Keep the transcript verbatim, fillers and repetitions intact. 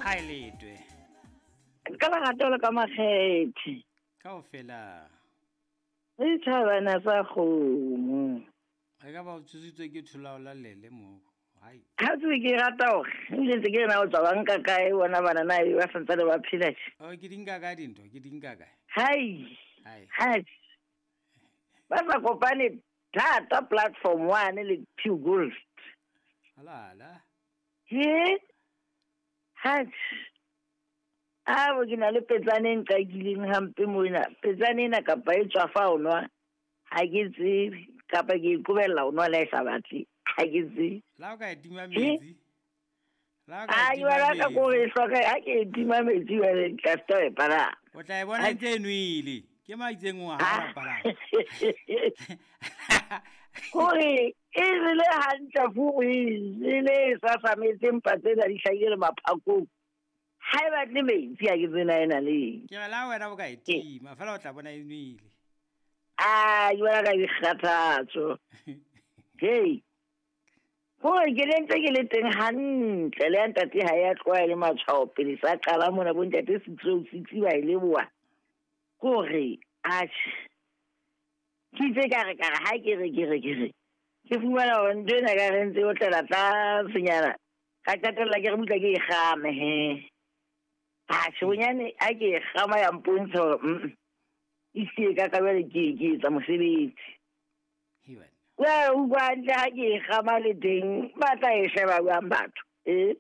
Kgaeletwe. Ka lerato le ka makgethe. Kaofela. Le thabana sa kgomo. E ka ba o tsositswe ke tholao la lele mo. Hai. Ha tswe ke rata hore ebile ntse ke re na o tswa ba nka kae bona bana na ebe ba santsane ba phela tje. Oh, ke di nka kae dintho? Ke di nka kae? Hai. Hai. Hai. Ba sa kopane thata platform one le two gold. Ala ala. He? Hai. A bo ke na le petsane e nqakileng hampe mona. Petsane ena kapa e tswa fa o nwa. Ha ke tsebe kapa ke e qobella ho nwa le ha e sa batle. Ha ke tsebe. La o ka e tima metsi. La o ka A e ke tima bona ka kore e metsi. hloka ha ke e tima metsi jwale tla feta ho e palama. O tla e bona ntse e nwele. Ke maitseng o ha Ah. o palama. Hore e rile hantle furu e jele e sasametse mpa tsena di hlahile le maphakong. Ha e batle metsi ha ke tsena ena le eng. Ke re la wena o ka e tima fela o tla bona e nwele. Ah, ke bona ka dikgathatso. Hei. Hore ke ne ntse ke le teng hantle le ya ntate ha ya tloha e le matshwao pele sa qala mona bo ntate six oh six ba e leboha. Kore atjhe. Ke itse ka re ka re ha ke re ke re ke re. Ke fumana hore ntho ena ka re ntse e otlela tlasenyana. Ka qetella ke re mutla ke e kgame he. Atjhe bonyane ha ke e kgama ya mpontsha hore mm e siye ka ka jwale ke ke etsa mosebetsi. He wena. Wa utlwa hantle ha ke e kgama le teng ba tla e sheba jwang batho? Eh?